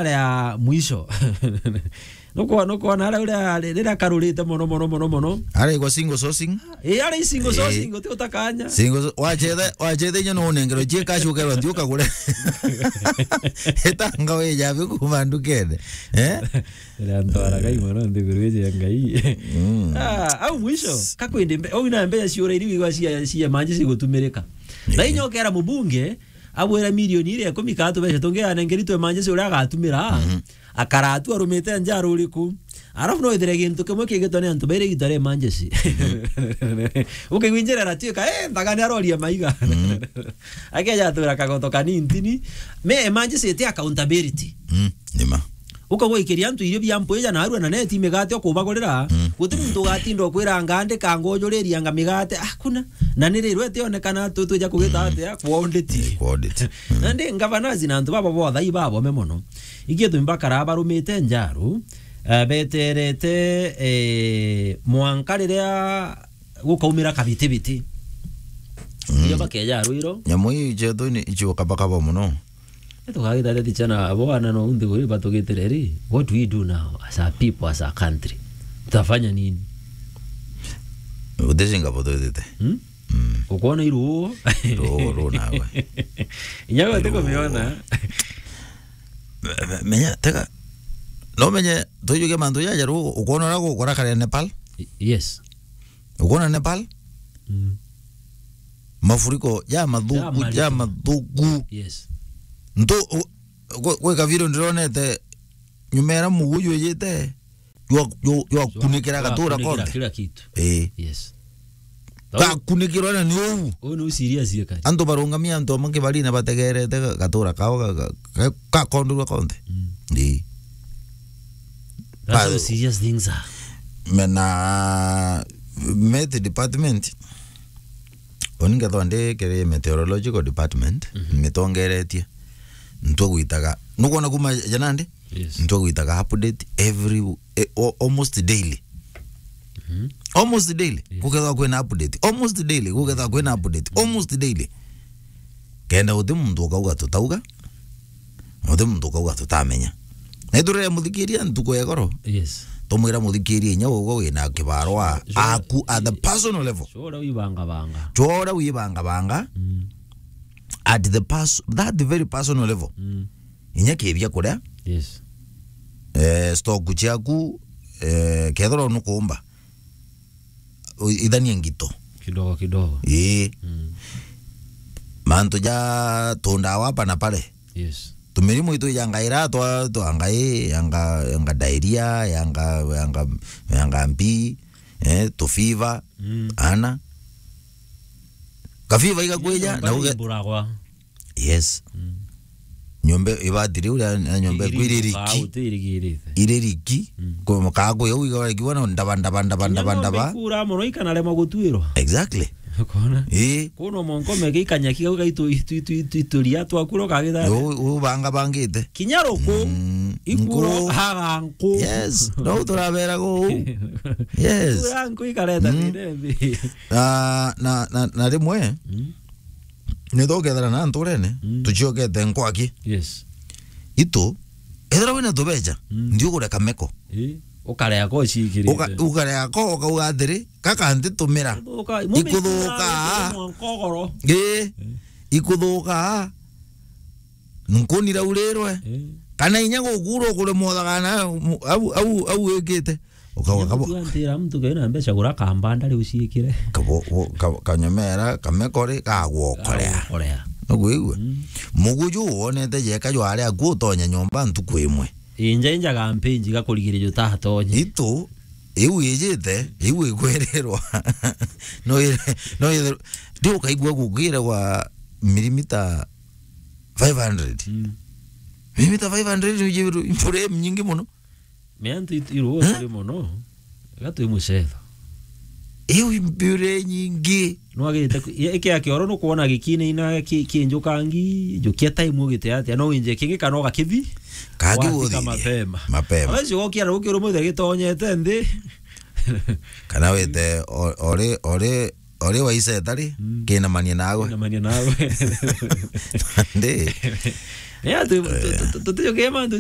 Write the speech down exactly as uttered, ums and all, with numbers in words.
aria mwisho. Nukwona, nukwona aria uria, riria karurite mono, mono, mono, mono. Aria igwa single sourcing. Eh, aria single sourcing, uti utakanya. Single so-, wachethe, wachethe inyo no unengero chie cash ukerwa nthi ukagure. Etanga we jabe kuma ndukene. Eh? Riria ntwaraga imono nthiguru iji ya Ngai. Mm. Ah, au mwisho, kakwende mbe-, au ina mbeca ciura iri wigwa cia, cia manje cigutumirika. Na inyo ukera mubunge, abwira milioni iria ikumi ka tubeca tungi anengeritwe manje cia uria agatumira, akaratu arumite njaru uriku. Arafu no ithire gintu kimwe kigitwa ni antu baire igita ria emergency. Ukigwinjira aratuika, eh, ntagani aroria maiga. Akeja atura kagoto kanintini. Me emergency iti accountability. Mm, nima. Ukagwikiria antu irio bia mpwija na arua na neti migate okubagurira, guti muntu ugatinda ukwira anga andika ngujuriria anga migate, hakuna. Na ni rirwe tionekana tu twija kugita atia, kwa audit. Eh, kwa audit. Mm. Nandi ngavanazi na antu baba bothe ibabome mono. Igie tumi bakara barumite njaru, eh, beterete, eh, mwanka riria gukaumira kabitibiti. Mm. Irio bakeja rwiro. Nyamu iu ichetu ni ichio kabakaba mono. Tukagita ati chana abo ana no unthi guri batugitire ri, what do we do now as a people, as a country? Tutafanya nini? Utesinga botwitite. Hmm? Mm. Ukwona iruo? Ruo, ruo nawe. Inya we tiko miona. Me-, me-, menya, tega. No menye, tujuke mantu jaja ruo, ukwona ura gukora kare Nepal? Y-, yes. Ukwona Nepal? Mm. Mafuriko ja mathuku, ja mathuku. Yes. Ntu, u-, gwe, gwe kavidio ndironete, nyuma era mugu jwijite, jwa, jwa, jwakunikira gatura konthe. Kila kitu. Ii. Yes. Gakunikirwa na ni uu. Uu ni serious ye kari. Antu barungamia antu amwe kibarine bategerete ga-, gatura kao ga-, ga-, ga-, gakondorua konthe. Mm. Ii. That's how serious things are. Mena Met Department, oni ngethwa ndi kiri Meteorological Department, mhm, nitongeretie. Ntwe gwitaga, nukwona kuma janandi? Yes. Ntwe gwitaga update every, eh, o-, almost daily. Mhm. Almost daily. Yes. Gukethwa kwina update. Almost daily. Gukethwa kwina update. Almost daily. Kenda guti muntu ukauga tutauga, guti muntu ukauga tutamenya. Na iturere muthikiria ntuku ya igoro. Yes. Tumwira muthikiria inya ugo wina kibarwa, sure, aku at the personal level. Sure, wibanga banga. Sure, wibanga banga. Mm. At the pers-, that very personal level. Mm. Inya kibia kuria. Yes. Eh, stock ciaku, eh, kethirwa nukumba. U-, ithanie ngito. Kidogo kidogo. Ii. Mm. Mantu ja tundawa hapa na pale. Yes. Tumirimu itu ja ngai ra twa, twa ngai, yanga, yanga diarrhea, yanga, yanga, yanga mbi, eh, tufiva, mm, ana. Kafiva igakwija, na uge-, iburagwa. Yes. Mm. Nyombe ibati riu ria, na nyombe iku iririku, iririki. Utirigirite. Iririku. Mm. Kwa makago yau iga ikiwa na ndaba, ndaba, ndaba, ndaba, ndaba. Ikura mono ikanarema gutwirwa. Exactly. Ukona? Ii. Kuno monko meke ikanyaki gau gaitu, itu, itu, itu, ituria twakuro kagitha. U-, ubanga bangite. Kinya ruku. Mm. Ikuro nku. Haga nku. Yes. No turabera go. Yes. Ikura nku ikareta, mm, thina mbi. Na, na, na, na rimwe, mm, nitho ukethira na nturene, mm, tuciokete nkwaki. Yes. Itu, ethira wina tubeca, mm, nthi ugure kameko. Ii, ukarea ko uciikirite. Uka-, ukarea ko, ukauga atiri, gaka ntitumira. Ikuthuka, ikuthuka. Ii, ikuthuka. Nkuni raurirwe. Ii. Kana inya gukura ukure mwathagana, au, au, au wikite. Ukauga kabo. Antira muntu kena mbeca gura kambanda riu ciikire. Kabo, bo-, ka-, kanyomera, kamekori, gagwokorea. Gagwokorea. Nukwigua? Mm. Muguju wonete jeka jwari aku utonya nyomba ntuku imwe. Inja inja gampenji gakurigiria jutatonye. Itu, iu ijite, iu ikwerirwa. No i-, no i-, ndi ukaigua gukire gwa milimita five hundred. Mm. Milimita five hundred ni mbura nyingi muno. Me antu it-, iruo turi mono, iga twi mucetho. Iu mbure nyingi. Nwagirite ku-, i-, ikia kioro nukwona gikinaina ki-, kinjukangi, njukia time ugite atia, no winje kingi kana ugakithi, kagi wathika uthithie mapema. Mapema. Abacio gokia na gukirwo mwithe gitonyete nthi. Kana wite o-, ori, ori, ori waiceta ri, mm, kinamanie nawe. Kinamanie nawe. Ndi. Ni atu, tu-, tu-, tu-, tutijukie mantu